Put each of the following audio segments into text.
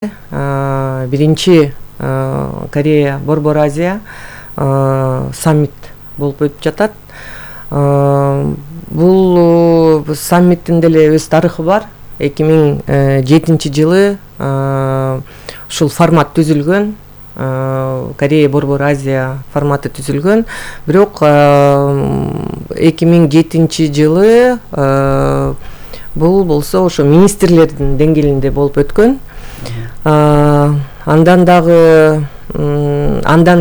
Биринчи Корея Борбор Азия саммит болуп өтүп жатат. Бул саммиттин деле өз тарыхы бар. 2007-жылы ушул формат түзүлгөн. Корея Борбор Азия форматы түзүлгөн. Бирок 2007-жылы бул болсо ошо министрлердин деңгээлинде болуп өткөн. Андан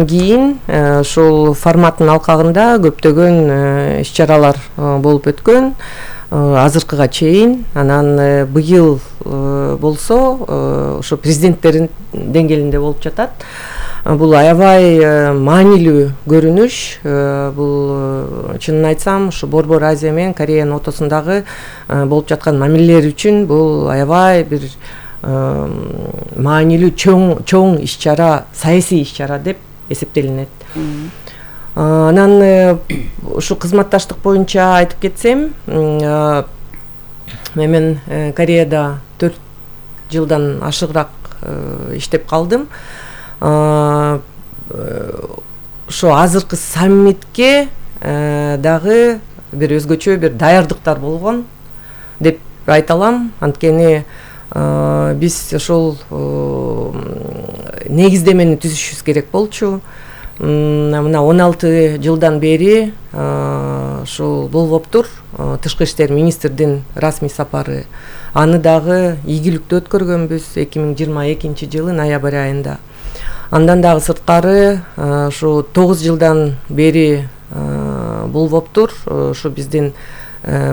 кийин ушул форматтын алкагында көптөгөн иш-чаралар болуп өткөн. Азыркыга чейин, анан быйыл болсо ошо президенттердин деңгээлинде болуп жатат. Бул аябай маанилүү көрүнүш. Бул чынын айтсам, ушу Борбор Азия менен Кореянын ортосундагы болуп жаткан мамилелер үчүн бул аябай бир маанилүү чоң иш-чара, саясий иш-чара деп эсептелинет. Анан ушу кызматташтык боюнча айтып кетсем, мен Кореяда 4 жылдан ашыгыраак иштеп калдым. Ошо азыркы саммитке дагы бир өзгөчө бир даярдыктар болгон деп айта алам. Анткени биз ошол негиздемени түзүшүбүз керек болчу. Мына 16 жылдан бери ушул болбоптур. Тышкы иштер министрдин расмий сапары. Аны дагы ийгиликтүү өткөргөнбүз 2022-жылы ноябрь айында. Андан дагы сырткары ушу 9 жылдан бери болбоптур. Ушу биздин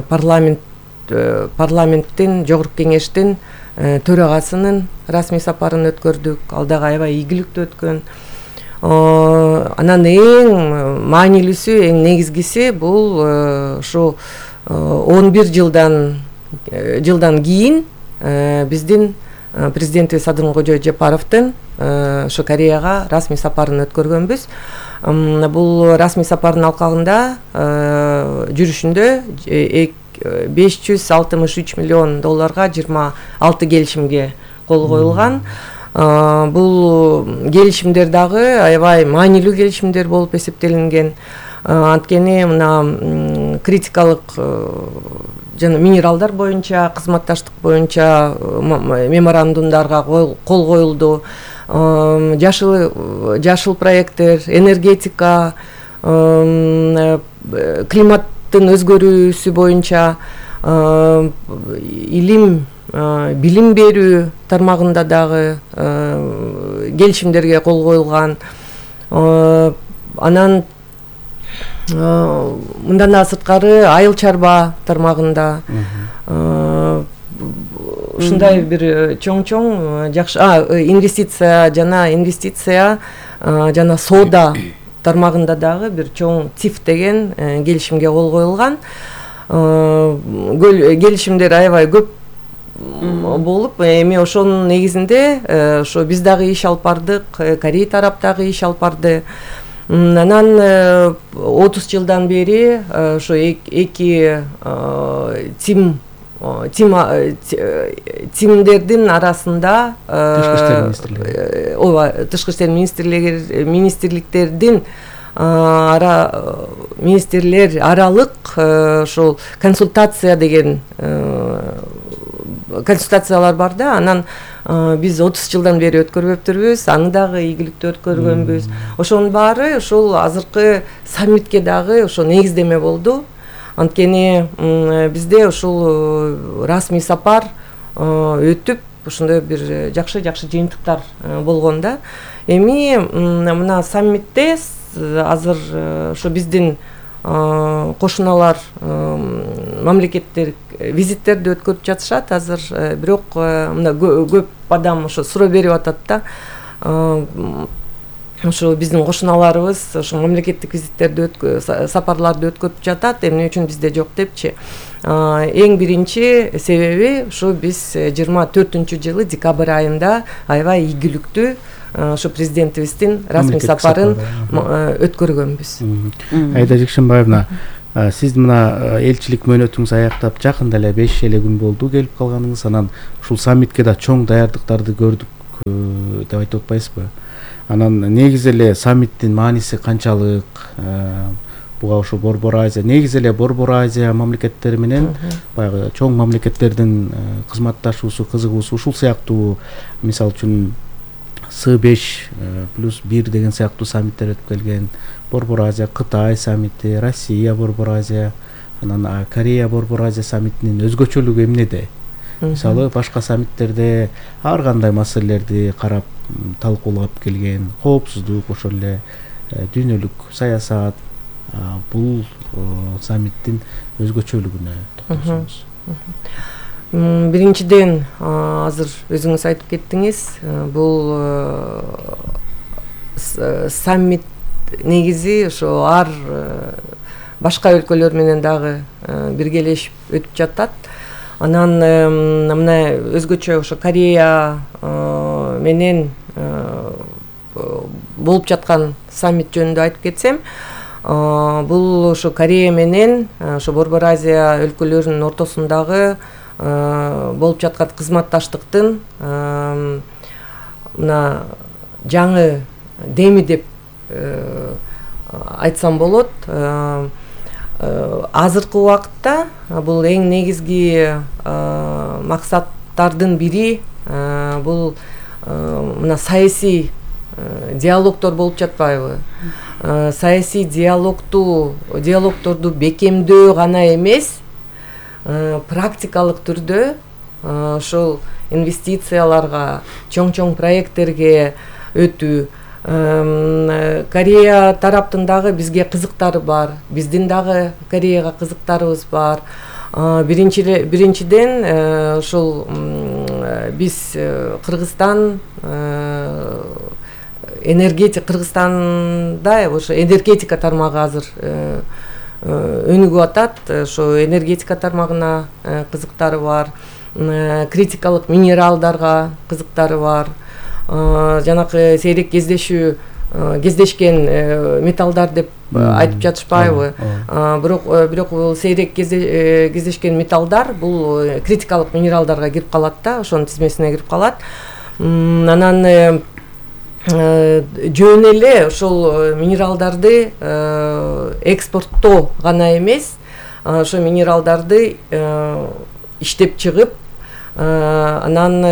парламенттин жогорку кеңештин төрагасынын расмий сапарын өткөрдүк. Ал дагы аябай ийгиликтүү өткөн. Анан эң маанилүүсү, эң негизгиси бул ушу 11 жылдан кийин биздин президентибиз Садыркожо Жапаровдун ошо Кореяга расмий сапарын өткөргөнбүз. Бул расмий сапардын алкагында жүрүшүндө $563 миллион 26 келишимге кол коюлган. Бул келишимдер дагы аябай маанилүү келишимдер болуп эсептелинген. Анткени мына критикалык жана минералдар боюнча, кызматташтык боюнча меморандумдарга кол коюлду. Жашыл проекттер, энергетика, климаттын өзгөрүүсү боюнча, билим берүү тармагында дагы келишимдерге кол коюлган. Анан мындан да сырткары айыл чарба тармагында ушундай бир чоң жакшы инвестиция жана соода тармагында дагы бир чоң ЦИФ деген келишимге кол коюлган. Келишимдер аябай көп болуп, эми ошонун негизинде ошо биз дагы иш алып бардык, Корея тарап дагы иш алып барды. Анан 30 жылдан бери ошо эки тимдердин арасында тышкы иштер министрликтердин министрлер аралык ошол консультациялар бар да. Анан биз 30 жылдан бери өткөрбөптүрбүз, аны дагы ийгиликтүү өткөргөнбүз. Ошонун баары ошол азыркы саммитке дагы ошо негиздеме болду. Анткени бизде ушул расмий сапар өтүп, ошондой бир жакшы жыйынтыктар болгон да. Эми мына саммитте азыр ошо биздин кошуналар мамлекеттер визиттерди өткөрүп жатышат азыр. Бирок мына көп адам ошо суроо берип атат да. Ошо биздин кошуналарыбыз ошо мамлекеттик визиттерди сапарларды өткөрүп жатат, эмне үчүн бизде жок депчи. Эң биринчи себеби ошо биз 24-жылы декабрь айында аябай ийгиликтүү ошо президентибиздин расмий сапарын өткөргөнбүз. Айда Жекшенбаевна, сиз мына элчилик мөөнөтүңүз аяктап жакында эле 5 эле күн болду келип калганыңыз. Анан ушул саммитке да чоң даярдыктарды көрдүк. деп айтып атпайсызбы? Анан негизи эле саммиттин мааниси канчалык? Буга ошо Борбор Азия, негизи эле Борбор Азия мамлекеттери менен баягы чоң мамлекеттердин кызматташуусу, кызыгуусу ушул сыяктуу, мисалы үчүн С5+1 деген сыяктуу саммиттер өтүп келген. Борбор Азия, Кытай саммити, Россия Борбор Азия, анан Корея Борбор Азия саммитинин өзгөчөлүгү эмнеде? Мисалы башка саммиттерде ар кандай маселелерди карап талкуулап келген, коопсуздук, ошол эле дүйнөлүк саясат. Бул саммиттин өзгөчөлүгүнө токтолсоңуз. Биринчиден, азыр өзүңүз айтып кеттиңиз, бул саммит негизи ошо ар башка өлкөлөр менен дагы биргелешип өтүп жатат. Анан мына өзгөчө ошо Корея менен болуп жаткан саммит жөнүндө айтып кетсем, бул ошо Корея менен ошо Борбор Азия өлкөлөрүнүн ортосундагы болуп жаткан кызматташтыктын мына жаңы деми деп айтсам болот. Азыркы убакытта бул эң негизги максаттардын бири бул мына саясий диалогдор болуп жатпайбы? Саясий диалогторду бекемдөө гана эмес, практикалык түрдө ошол инвестицияларга, чоң проекттерге өтүү. Корея тараптын дагы бизге кызыктары бар, биздин дагы Кореяга кызыктарыбыз бар. Биринчиден ошол биз Кыргызстан Кыргызстанда ошо энергетика тармагы азыр өнүгүп атат. Ошо энергетика тармагына кызыктары бар, критикалык минералдарга кызыктары бар. Жанакы сейрек кездешкен металлдар деп айтып жатышпайбы? Бирок бул сейрек кездешкен металлдар бул критикалык минералдарга кирип калат да, ошонун тизмесине кирип калат. Анан жөн эле ошол минералдарды экспорттоо гана эмес, ошо минералдарды иштеп чыгып, анан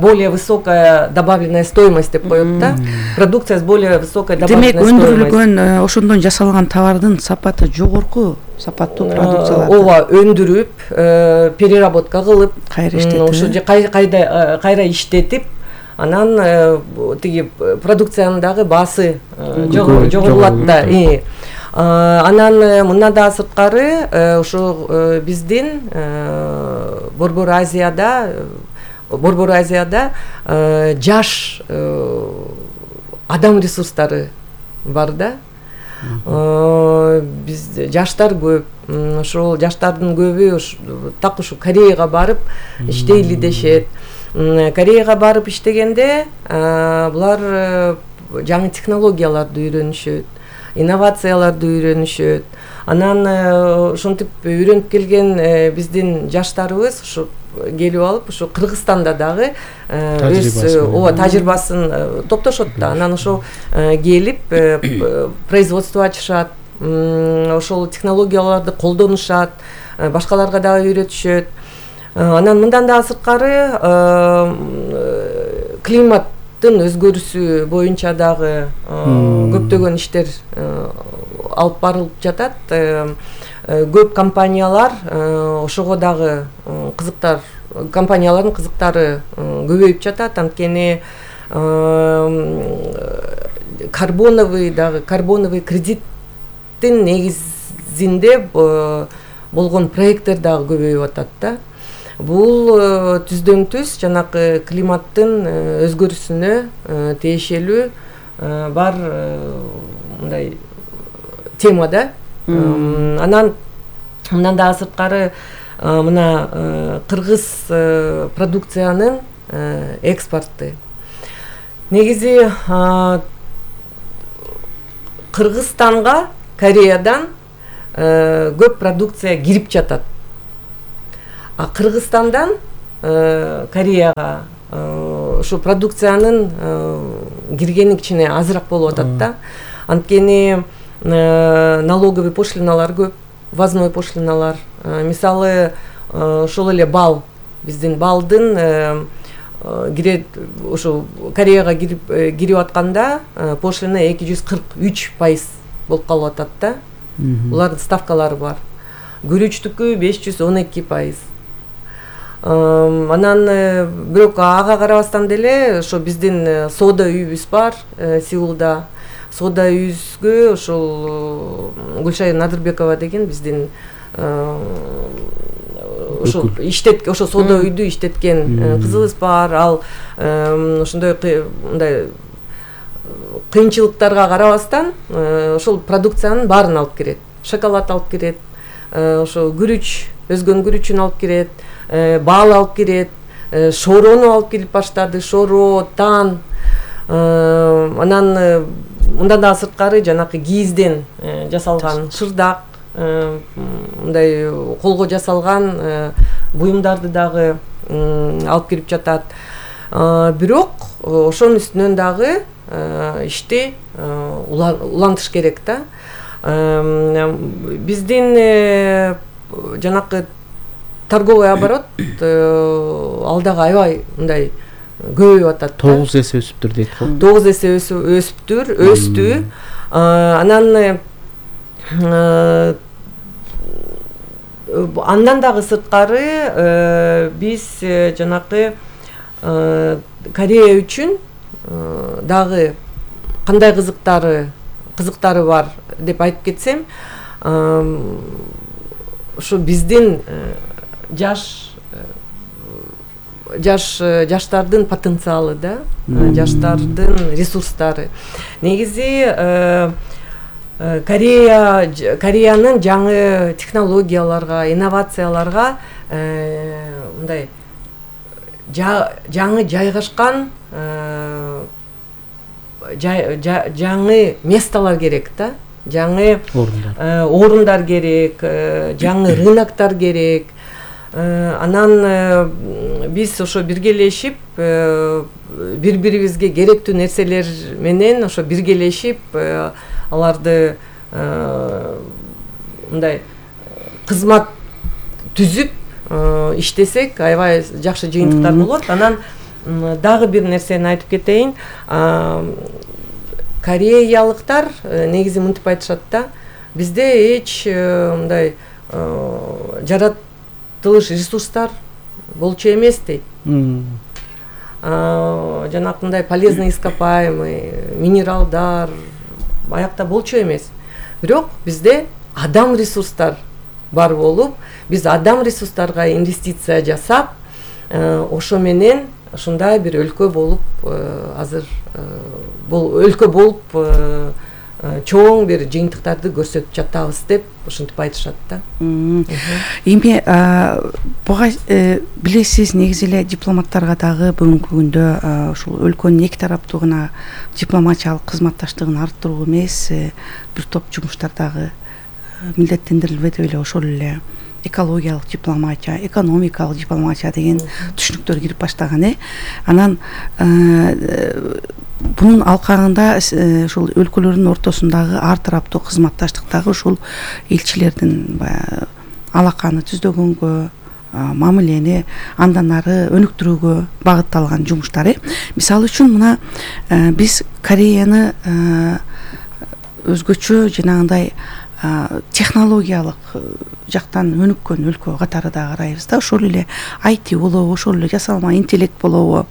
более высокая добавленная стоимость деп коет да, продукция с более высокой добавленной стоимостью. Демек өндүрүлгөн ошондон жасалган товардын сапаты жогорку сапаттуу продукциялар. Ооба, өндүрүп, переработка кылып, кайра иштетип, ошо кайра иштетип, анан тиги продукциянын дагы баасы жогорулат да. Анан мындан да сырткары ошо биздин Борбор Азияда жаш адам ресурстары бар да. Биз жаштар көп. Ошол жаштардын көбү так ушу Кореяга барып иштейли дешет. Кореяга барып иштегенде булар жаңы технологияларды үйрөнүшөт, инновацияларды үйрөнүшөт. Анан ошентип үйрөнүп келген биздин жаштарыбыз ушу келип алып, ушу Кыргызстанда дагы өз тажрыйбасын топтошот да. Анан ошо келип производство ачышат, ошол технологияларды колдонушат, башкаларга дагы үйрөтүшөт. Анан мындан да сырткары климаттын өзгөрүүсү боюнча дагы көптөгөн иштер алып барылып жатат. Көп компаниялар ошого дагы компаниялардын кызыктары көбөйүп жатат. Анткени карбоновый кредиттин негизинде болгон проекттер дагы көбөйүп атат да. Бул түздөн түз жанакы климаттын өзгөрүүсүнө тиешелүү бар мындай тема да. Анан мындан да сырткары мына кыргыз продукциянын экспорту. Негизи Кыргызстанга Кореядан көп продукция кирип жатат. А Кыргызстандан Кореяга ушу продукциянын киргени кичине азыраак болуп атат да. Анткени налоговый пошлиналар көп, ввозной пошлиналар. Мисалы ошол эле бал, биздин балдын кирет ушу Кореяга кирип атканда пошлина 243% болуп калып атат да. Булардын ставкалары бар. Күрүчтүкү 512%. Анан бирок ага карабастан деле ошо биздин соода үйүбүз бар Сеулда. Соода үйүбүзгө ошол Гүлшайыр Надырбекова деген биздин ошо ошо соода үйдү иштеткен кызыбыз бар. Ал ошондой мындай кыйынчылыктарга карабастан ошол продукциянын баарын алып келет. Шоколад алып келет, ошо күрүч, өзгөнүн күрүчүн алып келет, бал алып келет, шорону алып келип баштады, шоро, тан. Анан мындан да сырткары жанакы кийизден жасалган шырдак, мындай колго жасалган буюмдарды дагы алып келип жатат. Бирок ошонун үстүнөн дагы ишти улантыш керек да. Биздин жанакы торговый оборот ал дагы аябай мындай көбөйүп атат. 9 эсе өсүптүр дейт го. 9 эсе өстү. Анан андан дагы сырткары биз жанакы Корея үчүн дагы кандай кызыктары бар деп айтып кетсем, ошо биздин жаштардын потенциалы да, жаштардын ресурстары. Негизи Кореянын жаңы технологияларга, инновацияларга мындай жаңы жайгашкан жаңы месталар керек да, жаңы орундар керек, жаңы рыноктор керек. Анан биз ошо биргелешип бири-бирибизге керектүү нерселер менен ошо биргелешип аларды мындай кызмат түзүп иштесек аябай жакшы жыйынтыктар болот. Анан дагы бир нерсени айтып кетейин. Кореялыктар негизи мынтип айтышат да, бизде эч мындай жаратылыш ресурстар болчу эмес дейт. Жанакындай полезный ископаемый, минералдар аякта болчу эмес. Бирок бизде адам ресурстар бар болуп, биз адам ресурстарга инвестиция жасап, ошо менен ушундай бир өлкө болуп азыр өлкө болуп чоң бир жыйынтыктарды көрсөтүп жатабыз деп ушинтип айтышат да. Эми буга билесиз, негизи эле дипломаттарга дагы бүгүнкү күндө ушул өлкөнүн эки тараптуу гана дипломатиялык кызматташтыгын арттыруу эмес, бир топ жумуштар дагы милдеттендирилбеди беле, ошол эле экологиялык дипломатия, экономикалык дипломатия деген түшүнүктөр кирип баштаган. Анан бунун алкагында ушул өлкөлөрдүн ортосундагы ар тараптуу кызматташтыктагы ушул элчилердин алаканы түздөгөнгө, мамилени андан ары өнүктүрүүгө багытталган жумуштар. Мисалы үчүн мына биз Кореяны өзгөчө жанагындай технологиялык жактан өнүккөн өлкө катары да карайбыз да. Ошол эле IT болобу, ошол эле жасалма интеллект болобу,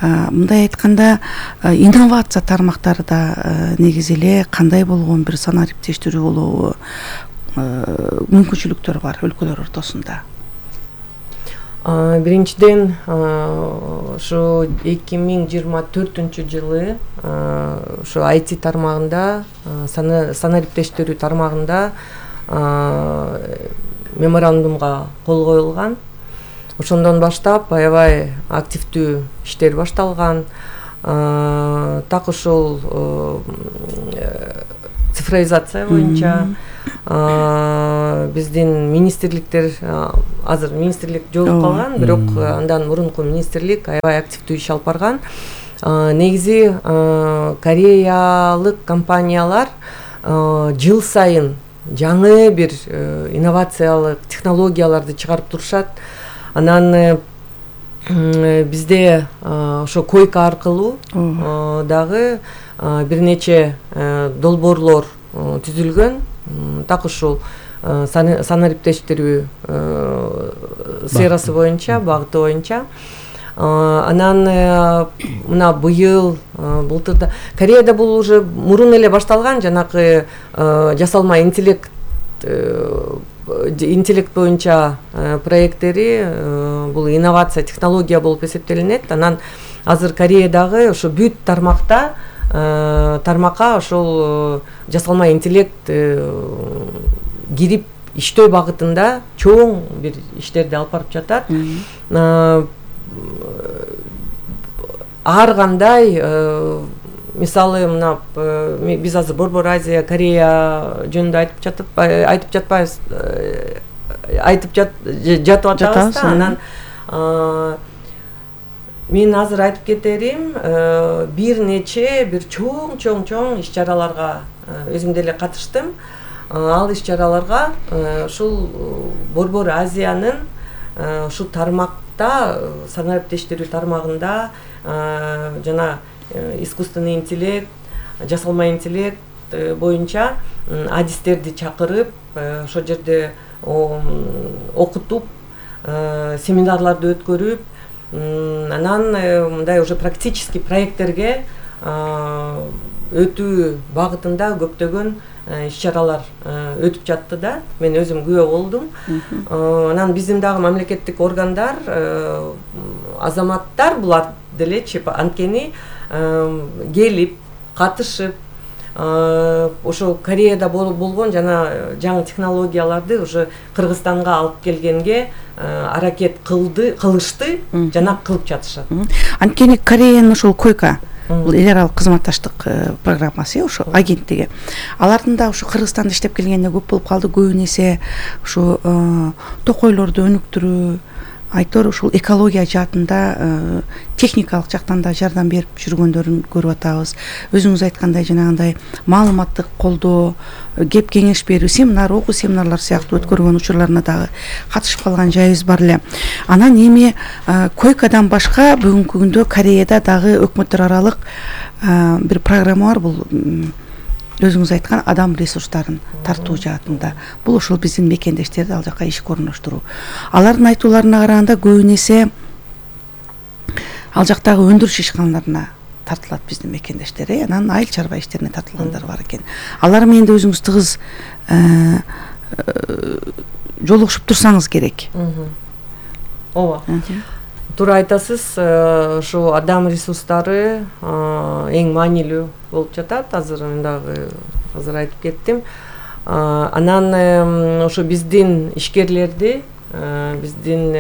мындай айтканда инновация тармактары да негизи эле кандай болгон бир санариптештирүү болобу, мүмкүнчүлүктөр бар өлкөлөр ортосунда. Биринчиден ошо 2024-жылы ошо IT тармагында, санариптештирүү тармагында меморандумга кол коюлган. Ошондон баштап аябай активдүү иштер башталган. Так ошол цифровизация боюнча биздин министрликтер азыр министрлик жойулуп калган, бирок андан мурунку министрлик аябай активдүү иш алып барган. Негизи кореялык компаниялар жыл сайын жаңы бир инновациялык технологияларды чыгарып турушат. Анан бизде ошо койка аркылуу дагы бир нече долбоорлор түзүлгөн. Так ушул санариптештирүү сферасы боюнча, багыты боюнча. Анан мына быйыл былтырда Кореяда бул уже мурун эле башталган, жанакы жасалма интеллект боюнча проекттери бул инновация, технология болуп эсептелинет. Анан азыр Кореядагы ошо бүт тармакка ошол жасалма интеллект кирип иштөө багытында чоң бир иштерди алып барып жатат. Ар кандай мисалы мына биз азыр Борбор Азия, Корея жөнүндө айтып жатпайбыз, жатып атабыз. Анан мен азыр айтып кетерим, бир нече бир чоң иш-чараларга өзүм деле катыштым. Ал иш-чараларга ушул Борбор Азиянын ушул тармакта, санариптештирүү тармагында жана искусственный интеллект, жасалма интеллект боюнча адистерди чакырып, ошол жерде окутуп, семинарларды өткөрүп, анан мындай уже практический проекттерге өтүү багытында көптөгөн иш-чаралар өтүп жатты да. Мен өзүм күбө болдум. Анан биздин дагы мамлекеттик органдар, азаматтар булар делечи анткени келип, катышып, ошо Кореяда болгон жана жаңы технологияларды уже Кыргызстанга алып келгенге аракет кылышты жана кылып жатышат. Анткени Кореянын ошол койка, бул эл аралык кызматташтык программасы, ошо агенттиги. Алардын да ошо Кыргызстанда иштеп келгенде көп болуп калды. Көбүн эсе ошо токойлорду өнүктүрүү, айтор ушул экология жаатында техникалык жактан да жардам берип жүргөндөрүн көрүп атабыз. Өзүңүз айткандай жанагындай маалыматтык колдоо, кеп кеңеш берүү, семинар, окуу семинарлар сыяктуу өткөргөн учурларына дагы катышып калган жайыбыз бар эле. Анан эми койкадан башка бүгүнкү күндө Кореяда дагы өкмөттөр аралык бир программа бар. Бул өзүңүз айткан адам ресурстарын тартуу жаатында. Бул ошол биздин мекендештерди ал жака ишке орноштуруу. Алардын айтууларына караганда көбүн эсе ал жактагы өндүрүш ишканаларына тартылат биздин мекендештер. Анан айыл чарба иштерине тартылгандар бар экен. Алар менен да өзүңүз тыгыз жолугушуп турсаңыз керек. Ооба. Туура айтасыз, ошо адам ресурстары эң маанилүү болуп жатат. Азыр мен дагы айтып кеттим. Анан ошо биздин ишкерлерди, биздин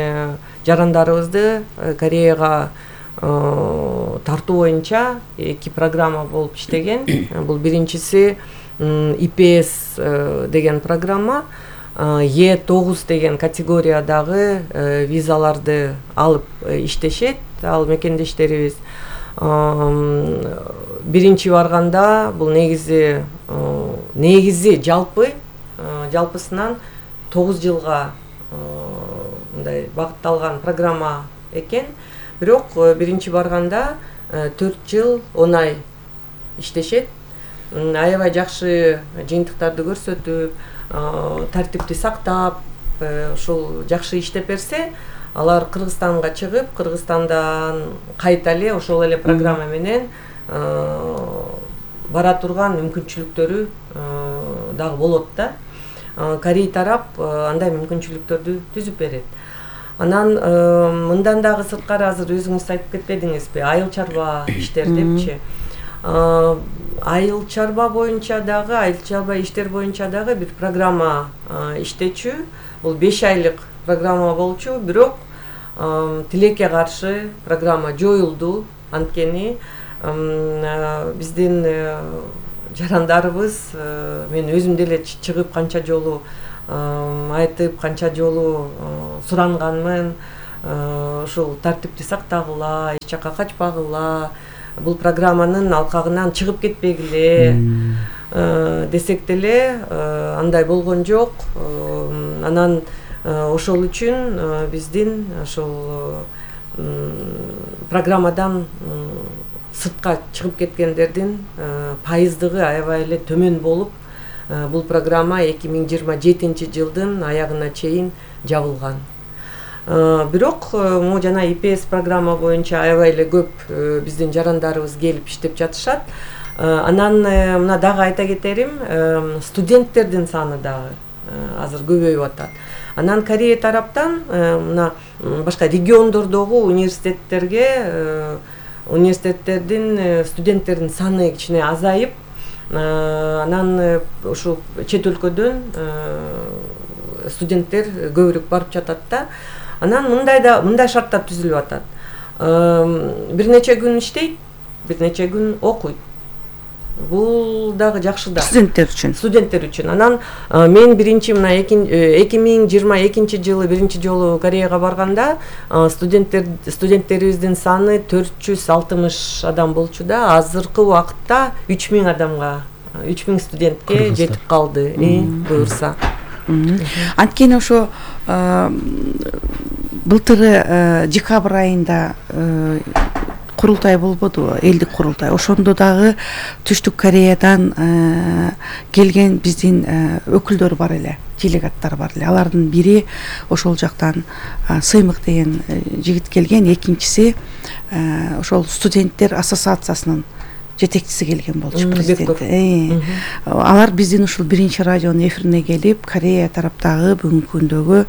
жарандарыбызды Кореяга тартуу боюнча 2 программа болуп иштеген. Бул биринчиси IPS деген программа. Е9 деген категориядагы визаларды алып иштешет ал мекендештерибиз. Биринчи барганда бул негизи жалпысынан 9 жылга мындай багытталган программа экен. Бирок биринчи барганда 4 жыл 10 ай иштешет. Аябай жакшы жыйынтыктарды көрсөтүп, тартипти сактап, ошол жакшы иштеп берсе, алар Кыргызстанга чыгып, Кыргызстандан кайта эле ошол эле программа менен бара турган мүмкүнчүлүктөрү дагы болот да. Корей тарап андай мүмкүнчүлүктөрдү түзүп берет. Анан мындан дагы сырткары азыр өзүңүз айтып кетпедиңизби, айыл чарба иштер депчи. Айыл чарба иштер боюнча дагы бир программа иштечү. Бул 5 айлык программа болчу, бирок тилекке каршы программа жоюлду. Анткени биздин жарандарыбыз, мен өзүм деле чыгып канча жолу айтып, канча жолу суранганмын, ушул тартипти сактагыла, эч жакка качпагыла, бул программанын алкагынан чыгып кетпегиле десек деле андай болгон жок. Анан ошол үчүн биздин ошол программадан сыртка чыгып кеткендердин пайыздыгы аябай эле төмөн болуп, бул программа 2027 жылдын аягына чейин жабылган. Бирок могу жана ИПС программа боюнча аябай эле көп биздин жарандарыбыз келип иштеп жатышат. Анан мына дагы айта кетерим, студенттердин саны дагы азыр көбөйүп атат. Анан Корея тараптан мына башка региондордогу университеттердин студенттердин саны кичине азайып, анан ушу чет өлкөдөн студенттер көбүрөөк барып жатат да. Анан мындай шарттар түзүлүп атат. Бир нече күн иштейт, бир нече күн окуйт. Бул дагы жакшы да. Студенттер үчүн. Анан мен биринчи мына 2022 жылы биринчи жолу Кореяга барганда студенттерибиздин саны 460 адам болчу да. Азыркы убакытта 3000 адамга, 3000 студентке жетип калды, буюрса. Анткени ошо былтыры декабрь айында курултай болбодубу, элдик курултай. Ошондо дагы Түштүк Кореядан келген биздин өкүлдөр бар эле, делегаттар бар эле. Алардын бири ошол жактан Сыймык деген жигит келген, экинчиси ошол студенттер ассоциациясынын жетекчиси келген болчу, президент. Алар биздин ушул биринчи радионун эфирине келип, Корея тараптагы бүгүнкү күндөгү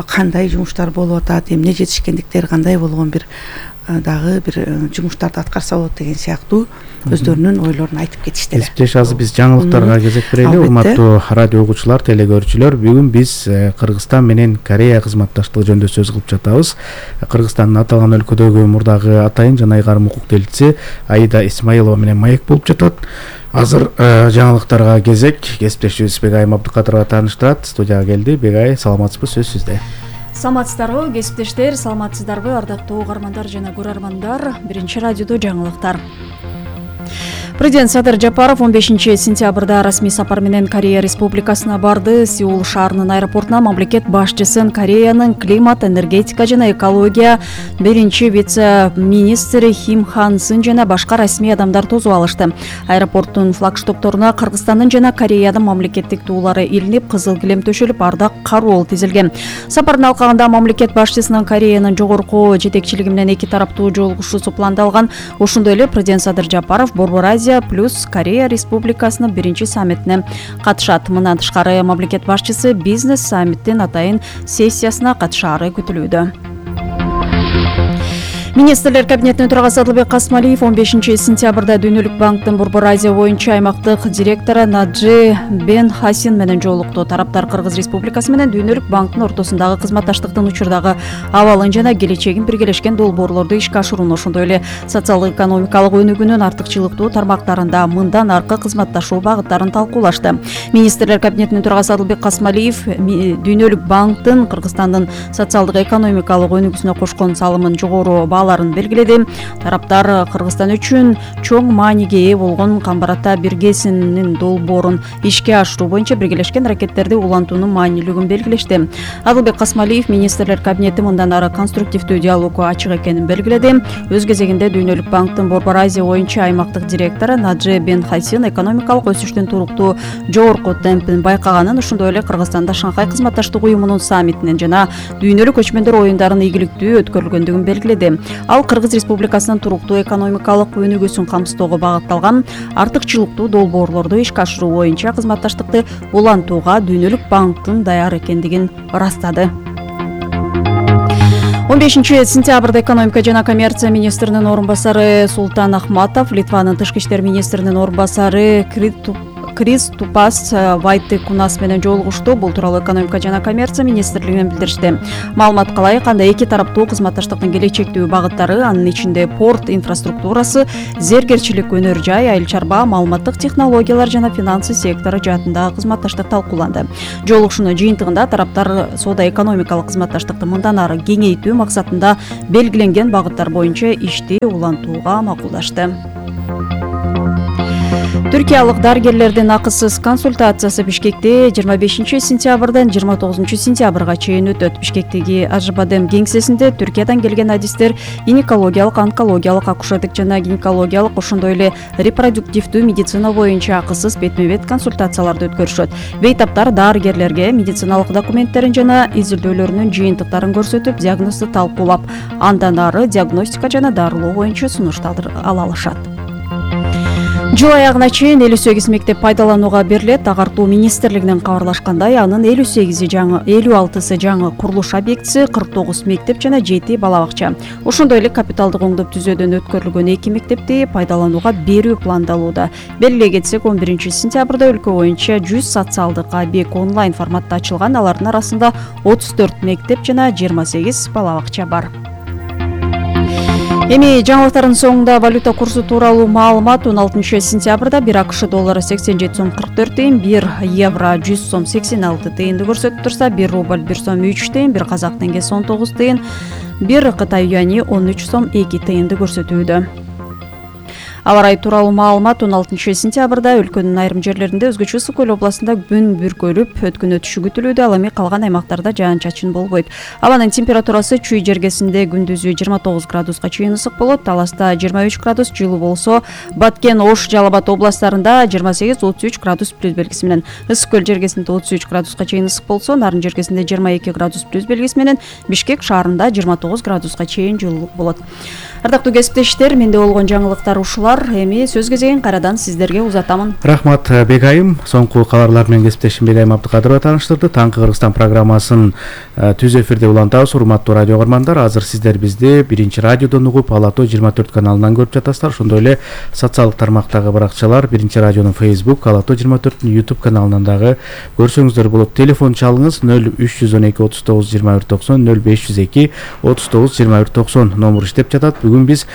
кандай жумуштар болуп атат, эмне жетишкендиктер кандай болгон бир дагы бир жумуштарды аткарса болот деген сыяктуу өздөрүнүн ойлорун айтып кетиштеле. Кесиптеш, азыр биз жаңылыктарга кезек берели. Урматтуу радио угуучулар, телегөрүүчүлөр, бүгүн биз Кыргызстан менен Корея кызматташтыгы жөнүндө сөз кылып жатабыз. Кыргызстандын аталган өлкөдөгү мурдагы атайын жана ыйгарым укук делчиси Аида Исмаилова менен маек болуп жатат. Азыр жаңылыктарга кезек. Кесиптешибиз Бегайым Абдыкадырова тааныштырат. Студияга келди. Бегай, саламатсызбы? Сөз сизде. Саламатсыздарбы, кесиптештер, саламатсыздарбы, ардактуу угармандар жана көрөрмандар. Биринчи радиодо жаңылыктар. Президент Садыр Жапаров 15 сентябрда расмий сапар менен Корея Республикасына барды. Сеул шаарынын аэропортуна мамлекет башчысын Кореянын климат, энергетика жана экология биринчи вице-министри Ким Хан Сын жана башка расмий адамдар тосуп алышты. Аэропорттун флагштокторуна Кыргызстандын жана Кореянын мамлекеттик туулары илинип, кызыл килем төшөлүп, ардак кароол тизилген. Сапардын алкагында мамлекет башчысынын Кореянын жогорку жетекчилиги менен эки тараптуу жолугушуусу пландалган. Ошондой эле президент Садыр Жапаров Борбор Азия плюс Корея Республикасынын биринчи саммитине катышат. Мындан тышкары мамлекет башчысы бизнес саммиттин атайын сессиясына катышаары күтүлүүдө. Министрлер кабинетинин төрагасы Адылбек Касмалиев 15 сентябрда Дүйнөлүк банктын Борбор Азия боюнча аймактык директору Наджи Бен Хасин менен жолукту. Тараптар Кыргыз Республикасы менен Дүйнөлүк банктын ортосундагы кызматташтыктын учурдагы абалын жана келечегин биргелешкен долбоорлорду ишке ашырууну, ошондой эле социалдык-экономикалык өнүгүүнүн артыкчылыктуу тармактарында мындан аркы кызматташуу багыттарын талкуулашты. Министрлер кабинетинин төрагасы Адылбек Касмалиев Дүйнөлүк банктын Кыргызстандын социалдык-экономикалык өнүгүүсүнө кошкон салымын жогору белгиледи. Тараптар Кыргызстан үчүн чоң мааниге ээ болгон Камбар-Ата биргесинин долбоорун ишке ашыруу боюнча биргелешкен аракеттерди улантуунун маанилүүлүгүн белгилешти. Адылбек Касмалиев министрлер кабинети мындан ары конструктивдүү диалогго ачык экенин белгиледи. Өз кезегинде Дүйнөлүк банктын Борбор Азия боюнча аймактык директору Наджи Бен Хасин экономикалык өсүштүн туруктуу жогорку темпин байкаганын, ошондой эле Кыргызстанда Шанхай кызматташтык уюмунун саммитинен жана Дүйнөлүк көчмөндөр оюндарынын ийгиликтүү өткөрүлгөндүгүн белгиледи. Ал Кыргыз Республикасынын туруктуу экономикалык өнүгүүсүн камсыздоого багытталган артыкчылыктуу долбоорлорду ишке ашыруу боюнча кызматташтыкты улантууга Дүйнөлүк банктын даяр экендигин ырастады. 15 сентябрда экономика жана коммерция министринин орун басары Султан Ахматов, Литванын тышкы иштер министринин орун басары Крис Тупас Вайты Кунас менен жолугушту. Бул тууралуу экономика жана коммерция министрлигинен билдиришти. Маалымат калай кандай эки тараптуу кызматташтыктын келечектүү багыттары, анын ичинде порт инфраструктурасы, зергерчилик, өнөр жай, айыл чарба, маалыматтык технологиялар жана финансы сектору жаатындагы кызматташтык талкууланды. Жолугушуунун жыйынтыгында тараптар соода-экономикалык кызматташтыкты мындан ары кеңейтүү максатында белгиленген багыттар боюнча ишти улантууга макулдашты. Түркиялык дарыгерлердин акысыз консультациясы Бишкекте 25 сентябрдан 29 сентябрга чейин өтөт. Бишкектеги Ажыбадем кеңсесинде Түркиядан келген адистер гинекологиялык, онкологиялык, акушерлик жана гинекологиялык, ошондой эле репродуктивдүү медицина боюнча акысыз бетме-бет консультацияларды өткөрүшөт. Бейтаптар дарыгерлерге медициналык документтерин жана изилдөөлөрүнүн жыйынтыктарын көрсөтүп, диагнозду талкуулап, андан ары диагностика жана дарылоо боюнча сунуштар ала алышат. Жыл аягына чейин 58 мектеп пайдаланууга берилет. Агартуу министрлигинен кабарлашкандай, анын 56сы жаңы курулуш объектиси, 49 мектеп жана 7 бала бакча. Ошондой эле капиталдык оңдоп түзөөдөн өткөрүлгөн 2 мектепти пайдаланууга берүү пландалууда. Белгилей кетсек, 11 сентябрда өлкө боюнча 100 социалдык объект онлайн форматта ачылган. Алардын арасында 34 мектеп жана 28 бала бакча бар. Эми жаңылыктардын соңунда валюта курсу тууралуу маалымат. 16 сентябрда 1 АКШ доллары 87 сом 44 тыйын, 1 евро 100 сом 86 тыйынды көрсөтүп турса, 1 рубль 1 сом 3 тыйын, 1 казак теңгеси 19 тыйын, 1 Кытай юани 13 сом 2 тыйынды көрсөтүүдө. Аба ырайы тууралуу маалымат. 16 сентябрда өлкөнүн айрым жерлеринде, өзгөчө Ысык көл областында күн бүркөлүп, өткөн өтүшү күтүлүүдө. Ал эми калган аймактарда жаан-чачын болбойт. Абанын температурасы Чүй жергесинде күндүзү 29 градуска чейин ысык болот. Таласта 23 градус жылуу болсо, Баткен, Ош, Жалал Абад областарында 28-33 градус плюс белгиси менен, Ысык көл жергесинде 33 градуска чейин ысык болсо, Нарын жергесинде 22 градус плюс белгиси менен, Бишкек шаарында 29 градуска чейин жылуу болот. Ардактуу кесиптештер, менде болгон жаңылыктар ушулар. Эми сөз кезегин кайрадан сиздерге узатамын. Рахмат Бегайым. Соңку кабарлар менен кесиптешим Бегайым Абдыкадырова тааныштырды. Таңкы Кыргызстан программасын түз эфирде улантабыз. Урматтуу радио көрмандар, азыр сиздер бизди биринчи радиодон угуп, Ала Тоо 24 каналынан көрүп жатасыздар. Ошондой эле социалдык тармактагы баракчалар, биринчи радионун Facebook, Ала Тоо 24 YouTube каналынан дагы көрсөңүздөр болот. Телефон чалыңыз 0312 39 21 90, 0502 39 21 90 номер иштеп жатат. Бүгүн биз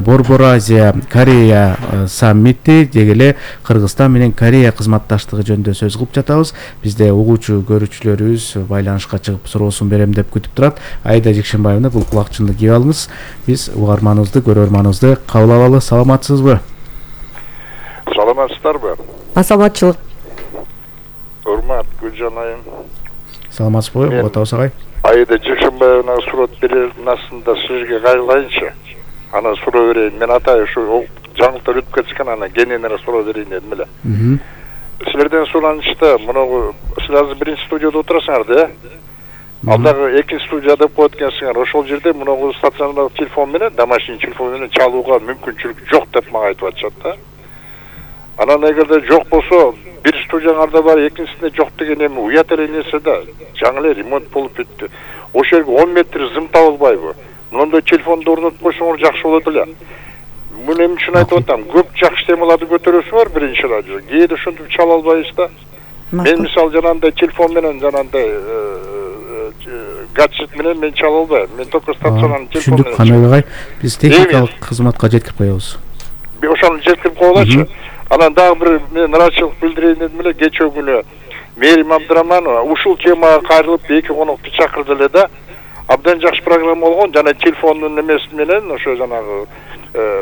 Борбор Азия Корея саммити деги эле Кыргызстан менен Корея кызматташтыгы жөнүндө сөз кылып жатабыз. Бизде угуучу көрүүчүлөрүбүз байланышка чыгып суроосун берем деп күтүп турат. Айда Жекшенбаевна, бул кулакчынды кийип алыңыз. Биз угарманыбызды, көрөрманыбызды кабыл алалы. Саламатсызбы? Саламатсыздарбы? Саламатчылык. Урмат Гүлжан айым. Саламатсызбы? Отабыз агай. Айда Жекшенбаевна суроо берердин астында сизге кайрылайынчы. Ана суроо берейин. Мен атайын ушу жаңылыктар өтүп кетишкен, ана кененирээк суроо берейин дедим эле. Силерден суранышты, муну сиз азыр биринчи студияда отурасыңар да? Алдагы экинчи студия деп коет экенсиңер. Ошол жерде муну стационардык телефон менен, домашний телефон менен чалууга мүмкүнчүлүк жок деп мага айтып атышат да. Анан эгерде жок болсо, бир студияңарда бар, экинчисинде жок деген эми уят эле нерсе да. Жаңы эле ремонт болуп бүттү. Ошол жерге 10 метр зым табылбайбы? Мындай телефонду орнотуп койсоңор жакшы болот эле. Муну эмне үчүн айтып атам? Көп жакшы темаларды көтөрөсүңөр биринчи радио. Кээде ошентип чала албайбыз да. Мен мисалы жанагындай телефон менен, жанагындай гаджет менен мен чала албайм. Мен только стационарный телефон менен. Канабагай, биз техникалык кызматка жеткирип коебуз. Ошону жеткирип коелачы. Анан дагы бир мен ыраачылык билдирейин дедим эле, кечээ күнү Мерим Абдыраманова ушул темага кайрылып эки конокту чакырды эле да. Абдан жакшы программа болгон, жана телефондун эмеси менен ошо жанагы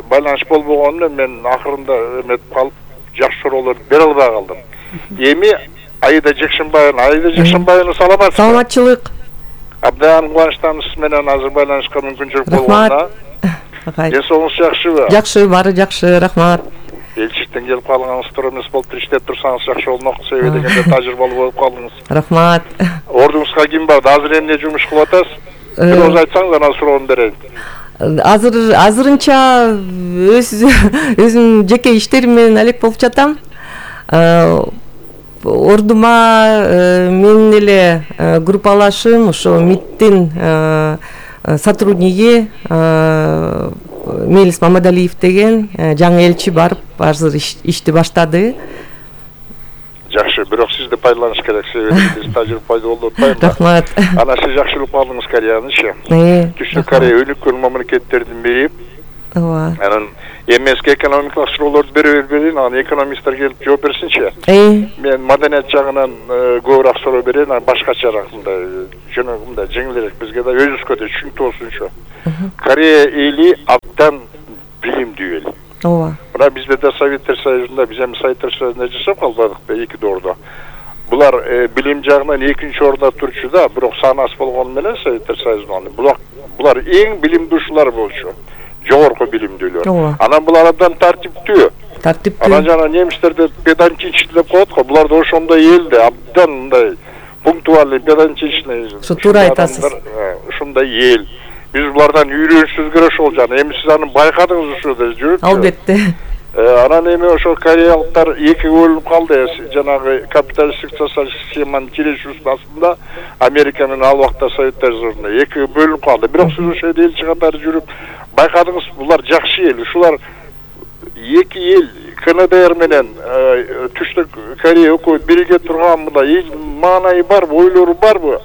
байланыш болбогону мен акырында эметип калып жакшы суроолорду бере албай калдым. Эми Айда Жекшенбаевна саламатсызбы? Саламатчылык. Абдан кубанычтамын сиз менен азыр байланышка мүмкүнчүлүк болгонуна. Ден соолугуңуз жакшыбы? Жакшы, баары жакшы, рахмат. Элчиктен келип калганыңыз тура эмес болуп иштеп турсаңыз жакшы болмок, себеби дегенде тажрыйбалуу болуп калдыңыз. Рахмат. Ордуңузга ким бар? Азыр эмне жумуш кылып атасыз? Бир ооз айтсаңыз анан суроону берейин. Азырынча өзүм жеке иштерим менен алек болуп жатам. Ордума менин эле группалашым ошо МИДтин сотрудниги Мелис Мамадалиев деген жаңы элчи барып азыр ишти баштады. жакшы, бирок сизди пайдаланыш керек, себеби биз тажрыйба пайда болуп атпайбы. Рахмат. Ана сиз жакшы билип калдыңыз Кореянычы. Түштүк Корея өнүккөн мамлекеттердин бири. Ооба. Анан эмески экономикалык суроолорду берейин, анан экономисттер келип жооп берсинчи. Мен маданият жагынан көбүрөөк суроо берейин, анан башкачараак мындай жөнөкөй жеңилирээк бизге да өзүбүзгө да түшүнүктүү болсунчу. Корея эли абдан билимдүү эл. Ооба. Мына бизде да Советтер Союзунда, биз эми Советтер Союзунда жашап калбадыкпы 2 ордо. Булар билим жагынан 2-нчи ордо турчу да, бирок саны аз болгону менен Советтер Союзунда булар эң билимдүү ушулар болчу. Жогорку билимдүүлөр. Анан булар абдан тартиптүү. Анан жана немистерде педантичный деп коет го, булар да ошондой эл да, абдан мындай пунктуальный, педантичный. Ошо туура айтасыз. Ушундай эл. Биз булардан үйрөнүшүбүз керек ошол жана. Эми сиз аны байкадыңыз ушуда жүрүп. Албетте. Анан эми ошо кореялыктар экиге бөлүнүп калды. Жанагы капиталисттик социалисттик схеманын кирешүүсүнүн астында Америка менен ал убакта Советтер Союзунда экиге бөлүнүп калды. Бирок сиз ошо жерде элчи катары жүрүп байкадыңыз, булар жакшы эл. Ушулар эки эл КНДР менен Түштүк Корея өкмөт бирге турган мындай маанайы барбы, ойлору барбы?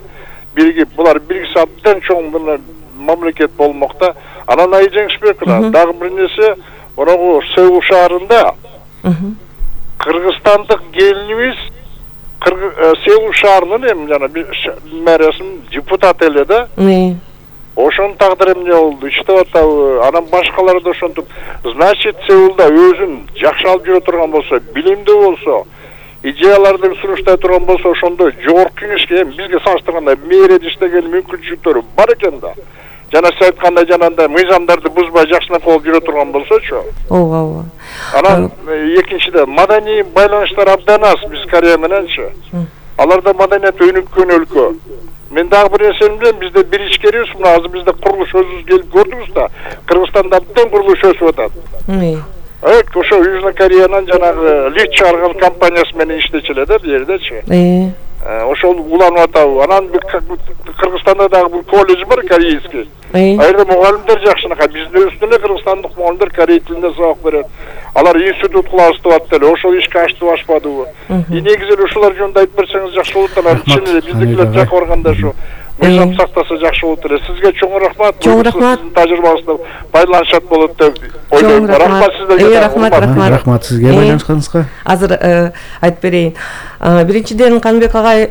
Биригип, булар биргиси абдан чоң мамлекет болмокта. Анан Ай Жеңишбекова дагы бир нерсе, Оногу Сеул шаарында кыргызстандык келинибиз Сеул шаарынын эми жана мэриясынын депутаты эле да. Ошонун тагдыры эмне болду? Иштеп атабы? Анан башкалар да ошентип, значит, Сеулда өзүн жакшы алып жүрө турган болсо, билимдүү болсо, идеяларды сунуштай турган болсо, ошондо жогорку кеңешке бизге салыштырганда мэрияда иштеген мүмкүнчүлүктөрү бар экен да. Жана сиз айткандай жанагындай мыйзамдарды бузбай жакшынакай болуп жүрө турган болсочу. Ооба. Анан экинчиден маданий байланыштар абдан аз биз Корея мененчи. Аларда маданият өнүккөн өлкө. Мен дагы бир нерсени билем, бизде бир ичкерибиз, мына азыр бизде курулуш өзүбүз келип көрдүңүз да. Кыргызстанда абдан курулуш өсүп атат. Ошо Южный Кореянын жанагы лифт чыгарган компаниясы менен иштечү эле да бул жердечи. Ошол уланып атабы. Анан Кыргызстанда дагы бир колледж бар, корейский. Айрда мугалимдер жакшынакай, биздин өстүнө кыргызстандык мугалимдер корей тилинде сабак берет. Алар институт кылабыз деп атты эле, ошол ишке ачтып ашпадыбы? Негизи ушулар жөнүндө айтып берсеңиз жакшы болот. Анан чын эле биздикилер жакка барганда ушу мыйзам сактаса жакшы болот эле. Сизге чоң рахмат. Чоң рахмат. Сиздин тажрыйбаңызды пайдаланышат болот деп ойлойм. Рахмат сиздерге. Рахмат сизге байланышканыңызга. Азыр айтып берейин. Биринчиден Канбек агай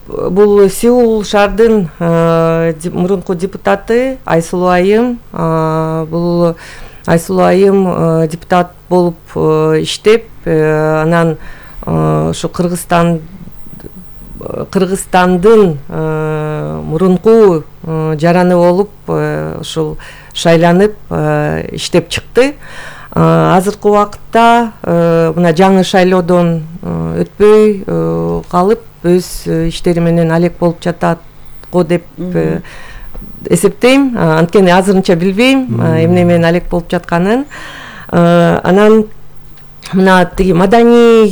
бул Сеул шаардын мурунку депутаты Айсулуу айым, бул Айсулуу айым депутат болуп иштеп, анан ошо Кыргызстандын мурунку жараны болуп ушул шайланып иштеп чыкты. Азыркы убакытта мына жаңы шайлоодон өтпөй калып өз иштери менен алек болуп жатат го деп эсептейм. Анткени азырынча билбейм эмне менен алек болуп жатканын. Анан мына тиги маданий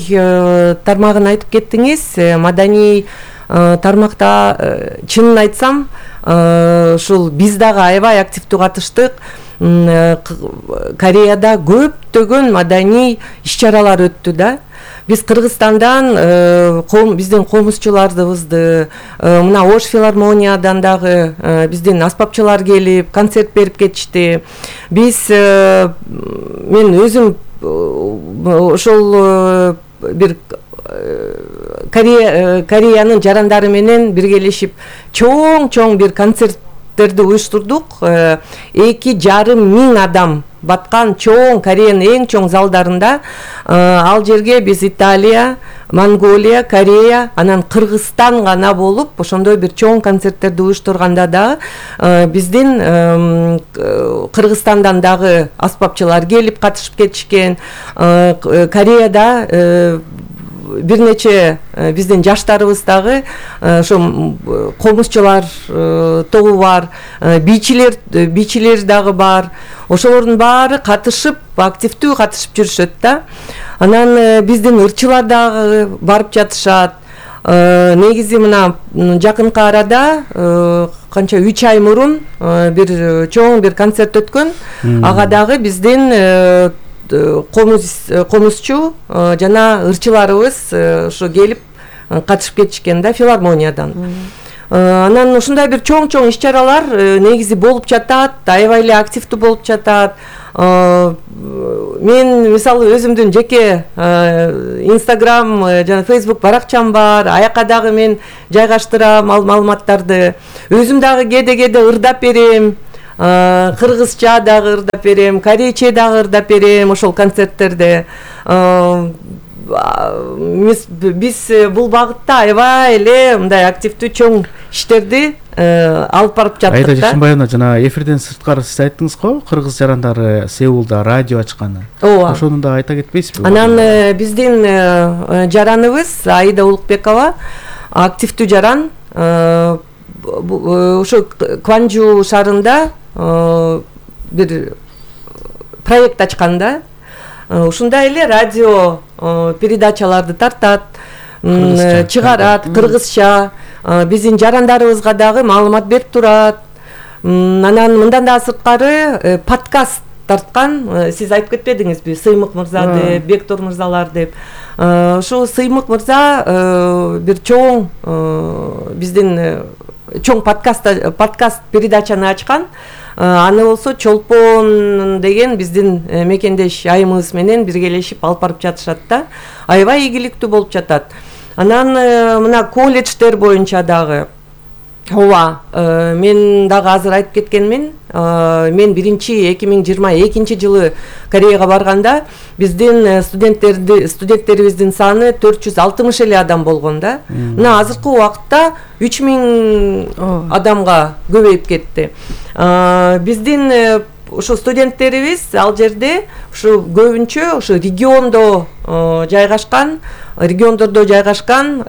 тармагын айтып кеттиңиз. Маданий тармакта чынын айтсам, ушул биз дагы аябай активдүү катыштык. Кореяда көптөгөн маданий иш-чаралар өттү да. Биз Кыргызстандан биздин комузчуларыбызды, мына Ош филармониядан дагы биздин аспапчылар келип концерт берип кетишти. Мен өзүм ошол бир Кореянын жарандары менен биргелешип чоң бир концерттерди уюштурдук. 2,5 миң адам баткан чоң, Кореянын эң чоң залдарында. Ал жерге биз Италия, Монголия, Корея, анан Кыргызстан гана болуп, ошондой бир чоң концерттерди уюштурганда да биздин Кыргызстандан дагы аспапчылар келип катышып кетишкен. Кореяда бир нече биздин жаштарыбыз дагы ошо комузчулар тобу бар, бийчилер дагы бар. Ошолордун баары катышып, активдүү катышып жүрүшөт да. Анан биздин ырчылар дагы барып жатышат. Негизи мына жакынкы арада канча 3 ай мурун бир чоң бир концерт өткөн. Ага дагы биздин комузчу жана ырчыларыбыз ошо келип катышып кетишкен да филармониядан. Анан ушундай бир чоң иш-чаралар негизи болуп жатат, аябай эле активдүү болуп жатат. Мен мисалы өзүмдүн жеке Instagram жана Facebook баракчам бар. Аяка дагы мен жайгаштырам маалыматтарды. Өзүм дагы кээде ырдап берем. Кыргызча дагы ырдап берем, корейче дагы ырдап берем ошол концерттерде. Биз бул багытта аябай эле мындай активдүү чоң иштерди алып барып жаттык да. Айда Жашынбаевна, жана эфирден сырткары сиз айттыңыз го, кыргыз жарандары Сеулда радио ачканы. Ооба. Ошону да айта кетпейсизби? Анан биздин жараныбыз Аида Улукбекова активдүү жаран. Ошо Кванжу шаарында бир проект ачкан да. Ушундай эле радио передачаларды тартат, чыгарат кыргызча. Биздин жарандарыбызга дагы маалымат берип турат. Анан мындан да сырткары подкаст тарткан. Сиз айтып кетпедиңизби, Сыймык мырза деп, Бектор мырзалар деп. Ошо Сыймык мырза бир чоң биздин чоң подкаст передачаны ачкан. Аны болсо Чолпон деген биздин мекендеш айымыбыз менен биргелешип алып барып жатышат да. Аябай ийгиликтүү болуп жатат. Анан мына колледждер боюнча дагы ооба, мен дагы азыр айтып кеткенмин. Мен 2022 жылы Кореяга барганда биздин студенттерибиздин саны 460 эле адам болгон да. Мына азыркы убакытта 3000 адамга көбөйүп кетти. Биздин ошо студенттерибиз ал жерде ушу көбүнчө ошо региондордо жайгашкан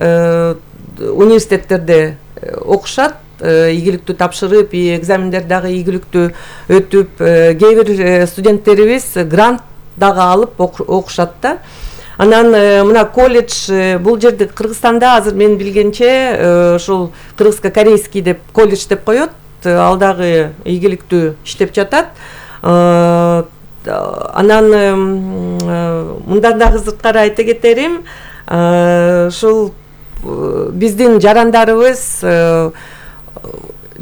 университеттерде окушат, ийгиликтүү тапшырып, экзамендер дагы ийгиликтүү өтүп, кээ бир студенттерибиз грант дагы алып окушат да. Анан мына колледж бул жерде Кыргызстанда азыр мен билгенче ошол кыргызско-корейский деп колледж деп коет. Ал дагы ийгиликтүү иштеп жатат. Анан мындан дагы сырткары айта кетерим, ушул биздин жарандарыбыз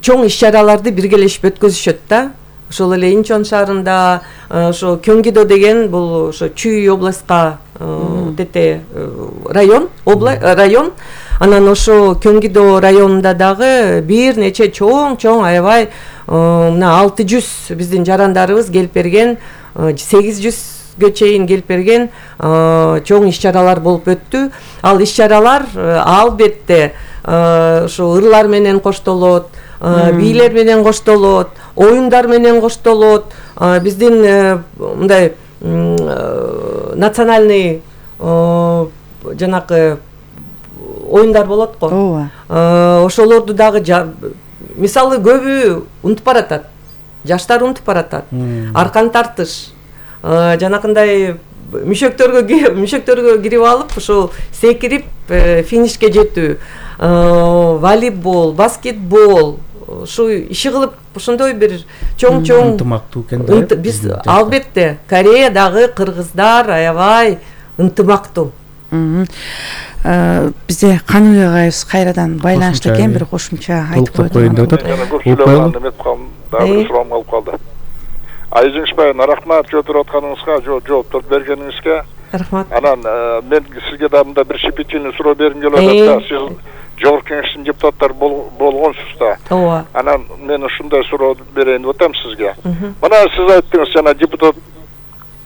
чоң иш-чараларды биргелешип өткөзүшөт да. Ошол эле Инчон шаарында ошо Кёнгидо деген бул ошо Чүй областка тете район. Анан ошо Кёнгидо районунда дагы бир нече чоң аябай мына 600 биздин жарандарыбыз келип берген, 800ге чейин келип берген чоң иш-чаралар болуп өттү. Ал иш-чаралар албетте ошо ырлар менен коштолот, бийлер менен коштолот, оюндар менен коштолот. Биздин мындай национальный жанакы оюндар болот го. Ооба. Ошолорду дагы мисалы көбү унутуп баратат. Жаштар унутуп баратат. Аркан тартыш, жанакындай мүшөктөргө кирип алып, ошо секирип финишке жетүү, волейбол, баскетбол, ушу иши кылып ошондой бир чоң ынтымактуу экен да. Биз албетте Кореядагы кыргыздар аябай ынтымактуу. Бизде Каныбек агайыбыз кайрадан байланышта экен, бир кошумча айтып коеюн деп атат. Дагы суроом калып калды. Айжыңышбаевна, рахмат жооп атканыңызга, жооптор бергениңизге. Рахмат. Анан мен сизге да мында бир щепетильный суроо бергим келип атат да. Сиз Жогорку Кеңештин депутаттары болгонсуз да. Ооба. Анан мен ушундай суроо берейин деп атам сизге. Мына сиз айттыңыз жана депутат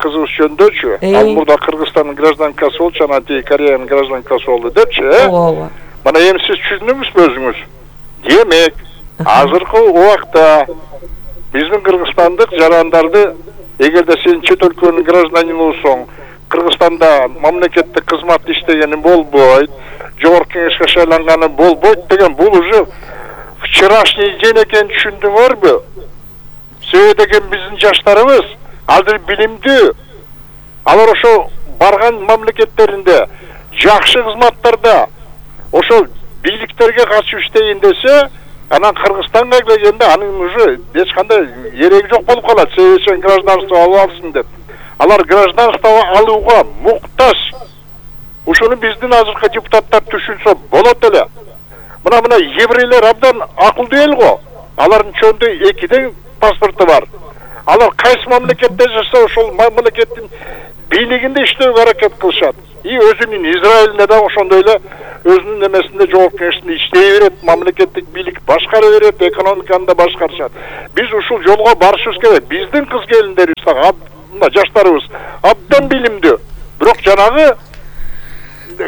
кызыбыз жөнүндөчү, ал мурда Кыргызстандын гражданкасы болчу, жана тиги Кореянын гражданкасы болду депчи, Ооба. Мына эми сиз түшүндүңүзбү өзүңүз? Демек, азыркы убакта биздин кыргызстандык жарандарды, эгерде сен чет өлкөнүн гражданины болсоң, Кыргызстанда мамлекеттик кызмат иштегени болбойт, Жогорку Кеңешке шайланганы болбойт деген бул уже вчерашний день экенин түшүндүңөрбү? Себеби деген биздин жаштарыбыз азыр билимдүү. Алар ошо барган мамлекеттеринде жакшы кызматтарда ошол бийликтерге катышып иштейин десе, анан Кыргызстанга келгенде анын уже эч кандай эреги жок болуп калат. Себеби гражданство алып алсын деп. Алар гражданство алууга муктаж. Ушуну биздин азыркы депутаттар түшүнсө болот эле. Мына еврейлер абдан акылдуу эл го. Алардын чөндө 2 паспорту бар. Алар кайсы мамлекетте жашаса ошол мамлекеттин бийлигинде иштөөгө аракет кылышат. И өзүнүн Израилинде да ошондой эле өзүнүн эмесинде жогорку кеңешинде иштей берет, мамлекеттик бийлик башкара берет, экономиканы да башкарышат. Биз ушул жолго барышыбыз керек. Биздин кыз келиндерибиз мына жаштарыбыз абдан билимдүү. Бирок жанагы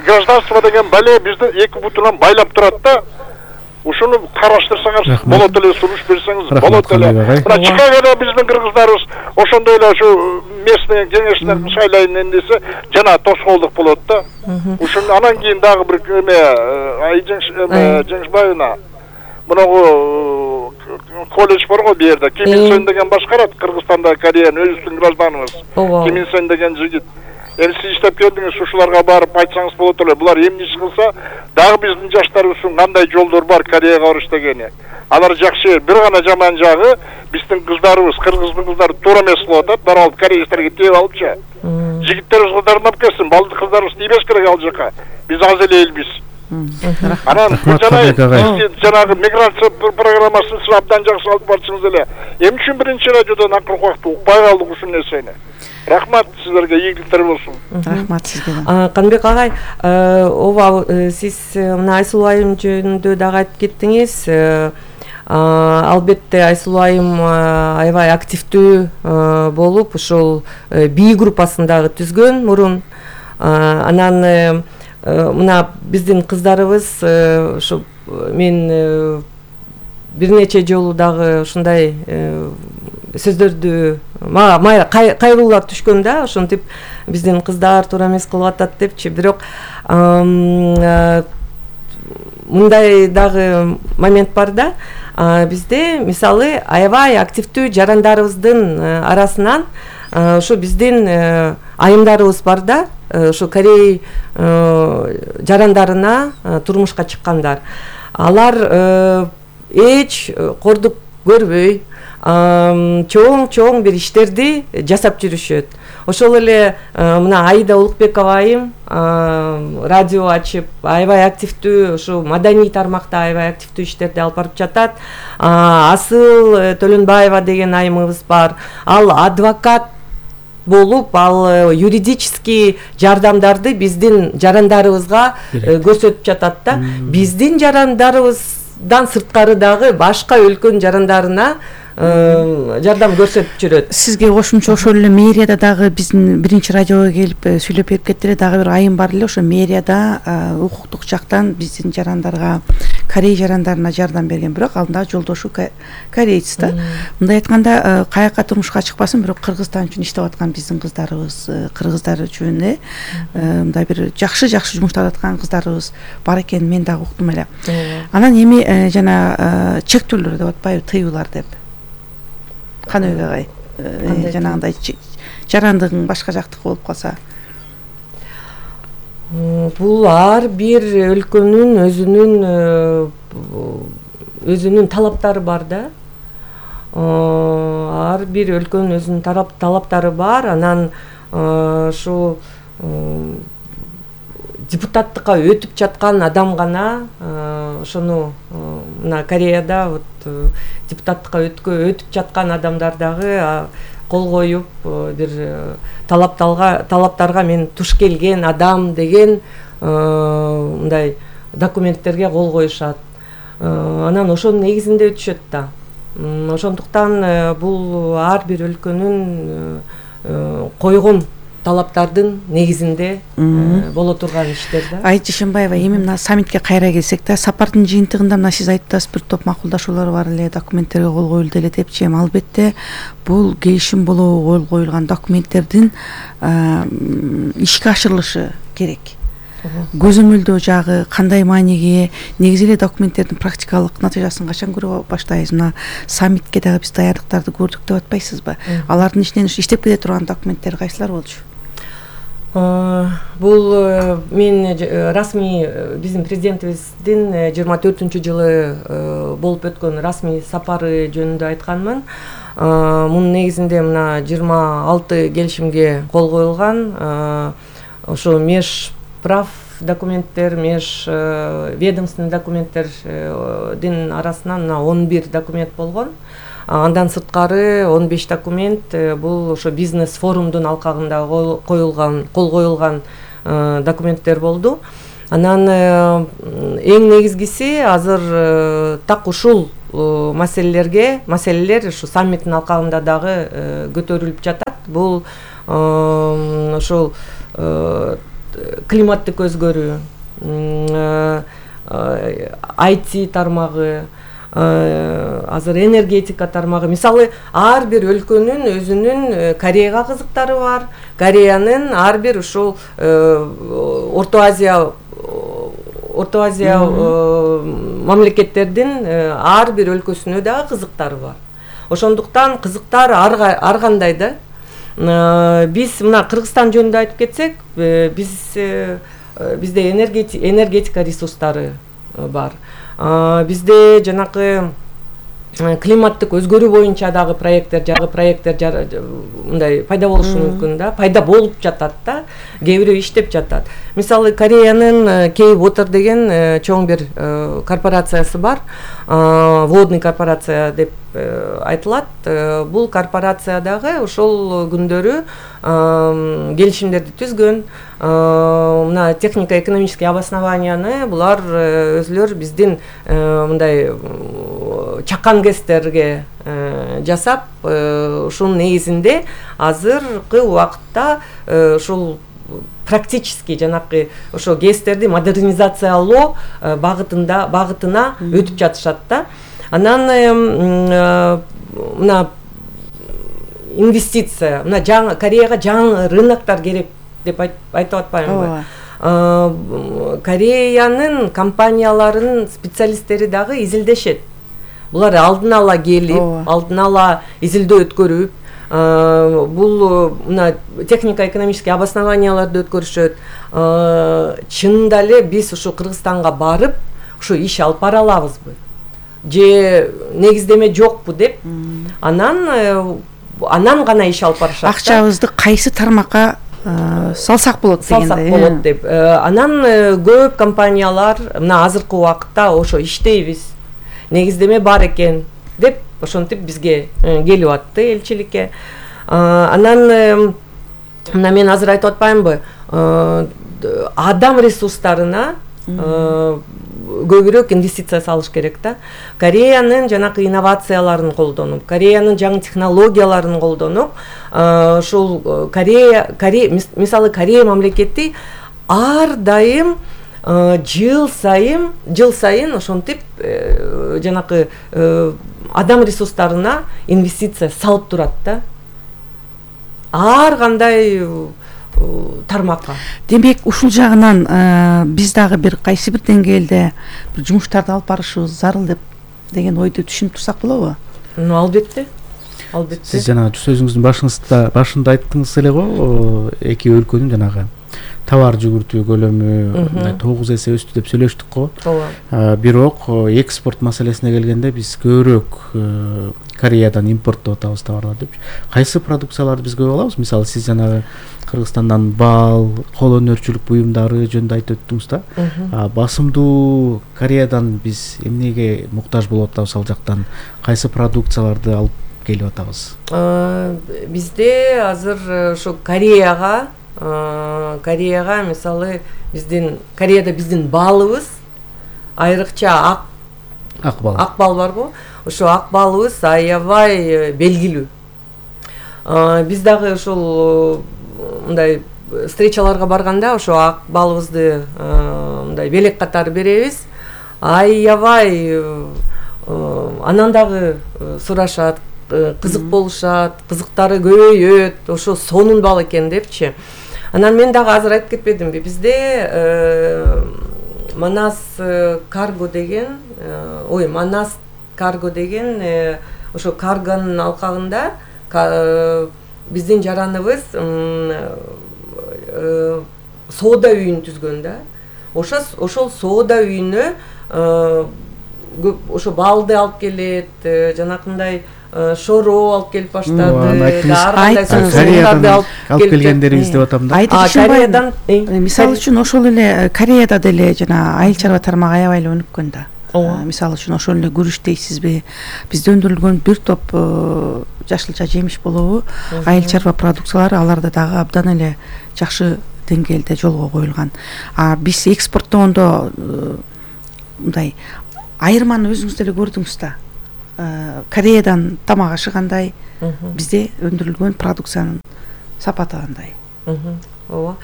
гражданство деген бале бизди 2 бутунан байлап турат да. Ушуну караштырсаңыз болот эле, сунуш берсеңиз болот эле. Мына Чикагода биздин кыргыздарыбыз ошондой эле ушу местный кеңештен шайлайын десе жана тоскоолдук болот да. Ушуну анан кийин дагы бир Жеңишбаевна мунагу колледж бар го бу жерде. Ким Ил Сун деген башкарат Кыргызстанда, Кореянын өзүбүздүн гражданыбыз. Ким Ил Сун деген жигит. Сиз иштеп келдиңиз, ушуларга барып айтсаңыз болот эле. Булар эмне иш кылса, дагы биздин жаштарыбыздын кандай жолдор бар Кореяга барыш дегени. Алар жакшы, бир гана жаман жагы биздин кыздарыбыз, кыргыздын кыздары туура эмес кылып атат, барып алып кореецтерге тийип алыпчы. Жигиттерибиз кыздарына келсин, балды кыздарыбыз тийбеш керек ал жака. Биз аз эле элбиз. Анан жанагы миграция программасын сиз абдан жакшы алып барчыңыз эле. Эмне үчүн биринчи радиодон акыркы убакытта укпай калдык ушул нерсени? Рахмат сиздерге, ийгиликтер болсун. Рахмат сизге. Канбек агай, ооба сиз мына Айсулуу айым жөнүндө дагы айтып кеттиңиз. Албетте Айсулуу айым аябай активдүү болуп, ошол би группасын дагы түзгөн мурун. Анан мына биздин кыздарыбыз ушу мен бир нече жолу дагы ушундай сөздөрдү мага кайгылуулар түшкөн да, ошентип биздин кыздар туура эмес кылып атат депчи. Бирок мындай дагы момент бар да, бизде мисалы аябай активдүү жарандарыбыздын арасынан ошо биздин айымдарыбыз бар да, ошо Корей жарандарына турмушка чыккандар. Алар эч кордук көрбөй чоң бир иштерди жасап жүрүшөт. Ошол эле мына Аида Улукбекова айым радио ачып аябай активдүү ушу маданий тармакта аябай активдүү иштерди алып барып жатат. Асыл Төлөнбаева деген айымыбыз бар. Ал адвокат болуп, ал юридический жардамдарды биздин жарандарыбызга көрсөтүп жатат да. Биздин жарандарыбыздан сырткары дагы башка өлкөнүн жарандарына жардам көрсөтүп жүрөт. Сизге кошумча ошол эле мэрияда дагы биздин биринчи радиого келип сүйлөп берип кетти эле, дагы бир айым бар эле, ошо мэрияда укуктук жактан биздин жарандарга, Корей жарандарына жардам берген, бирок ал дагы жолдошу корейец да. Мындай айтканда, каяка турмушка чыкпасын, бирок Кыргызстан үчүн иштеп аткан биздин кыздарыбыз, кыргыздар үчүн мындай бир жакшы жумуштап аткан кыздарыбыз бар экенин мен дагы уктум эле. Анан эми жана чектөөлөр деп атпайбы, тыюулар деп. Канбек агай, жанагындай жарандыгың башка жактыкы болуп калса, бул ар бир өлкөнүн өзүнүн талаптары бар да. Ар бир өлкөнүн өзүнүн талаптары бар. Анан ушу депутаттыкка өтүп жаткан адам гана ошону мына Кореяда вот депутаттыкка өтүп жаткан адамдар дагы кол коюп бир талаптарга мен туш келген адам деген мындай документтерге кол коюшат. Анан ошонун негизинде өтүшөт да. Ошондуктан бул ар бир өлкөнүн койгон талаптардын негизинде боло турган иштер да. Айт Жишенбаева, эми мына саммитке кайра келсек да, сапардын жыйынтыгында мына сиз айтып атасыз, бир топ макулдашуулар бар эле, документтерге кол коюлду эле депчи. Эми албетте бул келишим болобу кол коюлган документтердин ишке ашырылышы керек. Көзөмөлдөө жагы кандай мааниге, негизи эле документтердин практикалык натыйжасын качан көрө баштайбыз? Мына саммитке дагы биз даярдыктарды көрдүк деп атпайсызбы? Алардын ичинен иштеп келе турган документтер кайсылар болчу? Бул мен расмий биздин президентибиздин 24-жылы болуп өткөн расмий сапары жөнүндө айтканмын. Мунун негизинде мына 26 келишимге кол коюлган. Ошо межправ документтер, ведомственный документтердин арасынан мына 11 документ болгон. Андан сырткары 15 документ бул ошо бизнес форумдун алкагында кол коюлган документтер болду. Анан эң негизгиси азыр так ушул маселелер ушу саммиттин алкагында дагы көтөрүлүп жатат. Бул ошол климаттык өзгөрүү, IT тармагы, азыр энергетика тармагы. Мисалы, ар бир өлкөнүн өзүнүн Кореяга кызыктары бар. Кореянын ар бир ушул Орто Азия мамлекеттердин ар бир өлкөсүнө дагы кызыктары бар. Ошондуктан кызыктар ар кандай да. Биз мына Кыргызстан жөнүндө айтып кетсек, бизде энергетика ресурстары бар. Бизде жанакы климаттык өзгөрүү боюнча дагы проекттер мындай пайда болушу мүмкүн да, пайда болуп жатат да, кээ бирөө иштеп жатат. Мисалы, Кореянын K-Water деген чоң бир корпорациясы бар, водный корпорация деп айтылат. Бул корпорация дагы ошол күндөрү келишимдерди түзгөн. Мына технико-экономический обоснованияны булар өзүлөр биздин мындай чакан гэстерге жасап, ушунун негизинде азыркы убакытта ушул практически жанакы ошо гэстерди модернизациялоо багытына өтүп жатышат да. Анан мына инвестиция, мына Кореяга жаңы рыноктор керек деп айтып атпаймынбы? Кореянын компанияларынын специалисттери дагы изилдешет. Булар алдын ала келип, алдын ала изилдөө өткөрүп, бул мына технико-экономический обоснованияларды өткөрүшөт. Чынында эле биз ушу Кыргызстанга барып, ушу иш алып бара алабызбы? Же негиздеме жокпу деп, анан гана иш алып барышат. Акчабызды кайсы тармакка салсак болот деп. Анан көп компаниялар мына азыркы убакытта ошо иштейбиз, негиздеме бар экен деп ошентип бизге келип атты элчиликке. Анан мына мен азыр айтып атпаймынбы, адам ресурстарына көбүрөөк инвестиция салыш керек да. Кореянын жанакы инновацияларын колдонуп, Кореянын жаңы технологияларын колдонуп, ушул мисалы Корея мамлекети ар дайым жыл сайын ошентип жанакы адам ресурстарына инвестиция салып турат да. Ар кандай тармакка. Демек, ушул жагынан биз дагы бир кайсы бир деңгээлде бир жумуштарды алып барышыбыз зарыл деген ойду түшүнүп турсак болобу? Албетте. Сиз жана сөзүңүздүн башында айттыңыз эле го, эки өлкөнүн жанагы товар жүгүртүү көлөмү 9 эсе өстү деп сүйлөштүк го. Бирок экспорт маселесине келгенде биз көбүрөөк Кореядан импорттоп атабыз товарларды. Кайсы продукцияларды биз көп алабыз? Мисалы, сиз жанагы Кыргызстандан бал, кол өнөрчүлүк буюмдары жөнүндө айтып өттүңүз да. Басымдуу Кореядан биз эмнеге муктаж болуп атабыз, ал жактан кайсы продукцияларды алып келип атабыз? Бизде азыр ошо Кореяга мисалы Кореяда биздин балыбыз айрыкча ак бал барбы? Ошо ак балыбыз аябай белгилүү. Биз дагы ошол мындай встречаларга барганда ошо ак балыбызды мындай белек катары беребиз. Аябай анан дагы сурашат, кызык болушат, кызыктары көбөйөт, ошо сонун бал экен депчи. Анан мен дагы азыр айтып кетпедимби, бизде Манас Карго деген ошо каргонун алкагында биздин жараныбыз соода үйүн түзгөн да. Ошол соода үйүнө ошо балды алып келет, жанакындай шоро алып келип баштады. Кореядан алып келгендерибиз деп атам да. Кореядан мисалы үчүн ошол эле Кореяда деле жана айыл чарба тармагы аябай эле өнүккөн да. Мисалы үчүн ошол эле күрүч дейсизби, бизде өндүрүлгөн бир топ жашылча жемиш болобу, айыл чарба продукциялары аларда дагы абдан эле жакшы деңгээлде жолго коюлган. Биз экспорттогондо мындай айырманы өзүңүз деле көрдүңүз да. Кореядан тамак ашы кандай, бизде өндүрүлгөн продукциянын сапаты кандай. Ооба.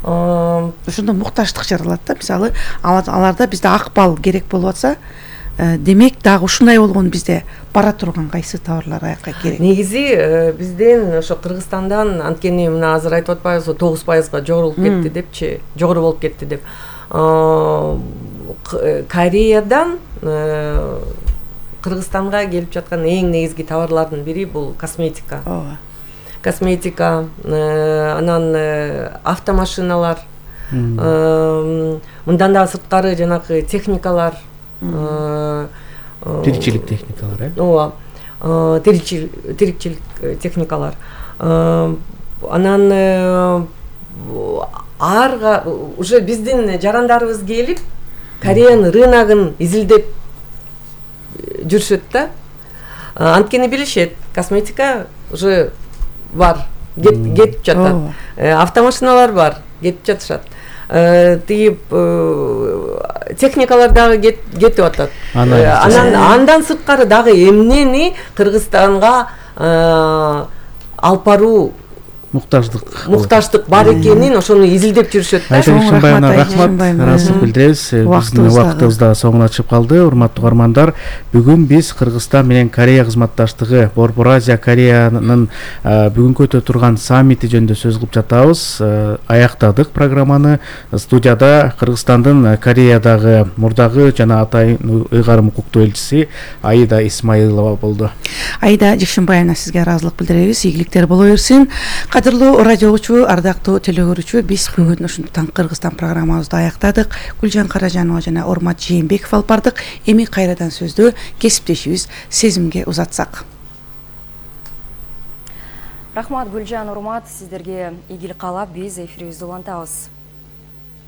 Ошондо муктаждык жаралат да. Мисалы, аларда бизде ак бал керек болуп атса, демек дагы ушундай болгон бизде бара турган кайсы товарлар аякка керек? Негизи бизден ошо Кыргызстандан анткени мына азыр айтып атпайбызбы 9%га жогору болуп кетти депчи, жогору болуп кетти деп. Кореядан Кыргызстанга келип жаткан эң негизги товарлардын бири бул косметика. Косметика, анан автомашиналар, мындан да сырткары жанагы техникалар, тиричилик техникалар, ооба, тиричилик техникалар. Анан уже биздин жарандарыбыз келип Кореянын рыногун изилдеп жүрүшөт да. Анткени билишет, косметика уже бар, кетип жатат. Автомашиналар бар, кетип жатышат. Тип техникалар дагы кетип атат. Андан сырткары дагы эмнени Кыргызстанга алып баруу муктаждык бар экенин ошону изилдеп жүрүшөт да. Рахмат, ыраазычылык билдиребиз. Биздин убактыбыз да соңуна чыгып калды. Урматтуу угармандар, бүгүн биз Кыргызстан менен Корея кызматташтыгы, Борбор Азия Кореянын бүгүнкү өтө турган саммити жөнүндө сөз кылып жатабыз. Аяктадык программаны. Студияда Кыргызстандын Кореядагы мурдагы жана атайын ыйгарым укуктуу элчиси Аида Исмаилова болду. Аида Жекшенбаевна, сизге ыраазылык билдиребиз. Ийгиликтер боло берсин. Кадырлуу радио угуучу, ардактуу телөгөрүүчү, биз бүгүн ушунтан Кыргызстан программабызды аяктадык. Гүлжан Каражанова жана Урмат Жээнбеков алып бардык. Эми кайрадан сөздү кесиптешибиз Сезимге узатсак. Рахмат Гүлжан, Урмат, сиздерге ийгилик каалап биз эфирибизди улантабыз.